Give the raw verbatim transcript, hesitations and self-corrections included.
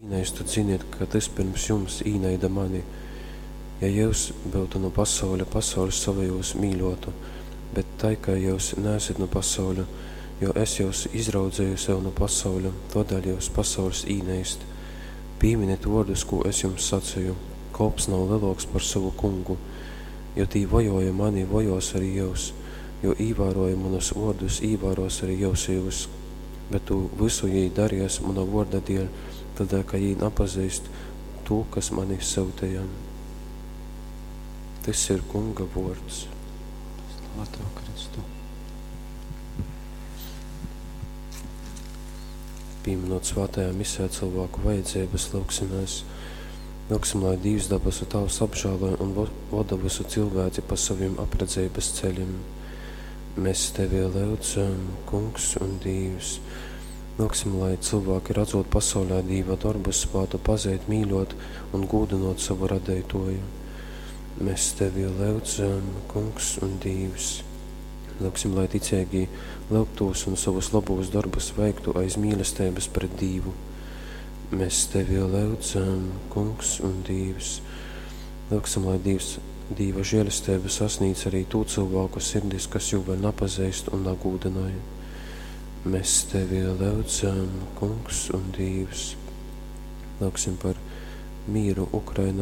Īneistu, ziniet, ka tys pirms jums īneida mani. Ja jyus byutu nu pasauļa, pasauļs sovejūs mīļōtu, bet tai kai jyus naesit nu pasauļa, jo es jyus izraudzeju sev nu pasauļa, tōdēļ jyus pasauļs īneist. Pīminit vōrdus, kū es jums saceju: Kolps nav lelōks par sovu kungu. Jo tī vojōja mani, vojōs arī jyus, jo īvārōja munus vōrdus, īvārōs arī jyusejūs. Bet tū vysu jī daries muna vōrda dēļ, tōdēļ ka jī napazeist tū, kas mani syuteja. Tys ir Kunga vōrds. Slava Tev, Kristu! Pīminot svātajā misē cilvēku vajadzības, lyugsimēs. Lyugsim, lai Dīvs dabasu Tāvs apžēloj un voda vysu cilvēci pa sovim apredzeibas ceļim. Mēs Tevi lyudzam, Kungs un Dīvs. Lyugsim, lai cilvēki, radzot pasaulē Dīva dorbus, spātu pazeit, mīļot un gūdynot sovu Radeitōju. Mēs Tevi lyudzam, Kungs un Dīvs. Lyugsim, lai ticeigī lyugtūs un sovus lobūs dorbus veiktu aiz mīlesteibas pret Dīvu. Mēs Tevi lyudzam, Kungs un Dīvs. Lyugsim, lai Dīvs, Dīva žēlesteiba sasnīdz arī tū cilvēku sirdis, kas jū vēl napazeist un nagūdynoj. Mēs Tevi lyudzam, Kungs un Dīvs. Lyugsim par mīru Ukrainā.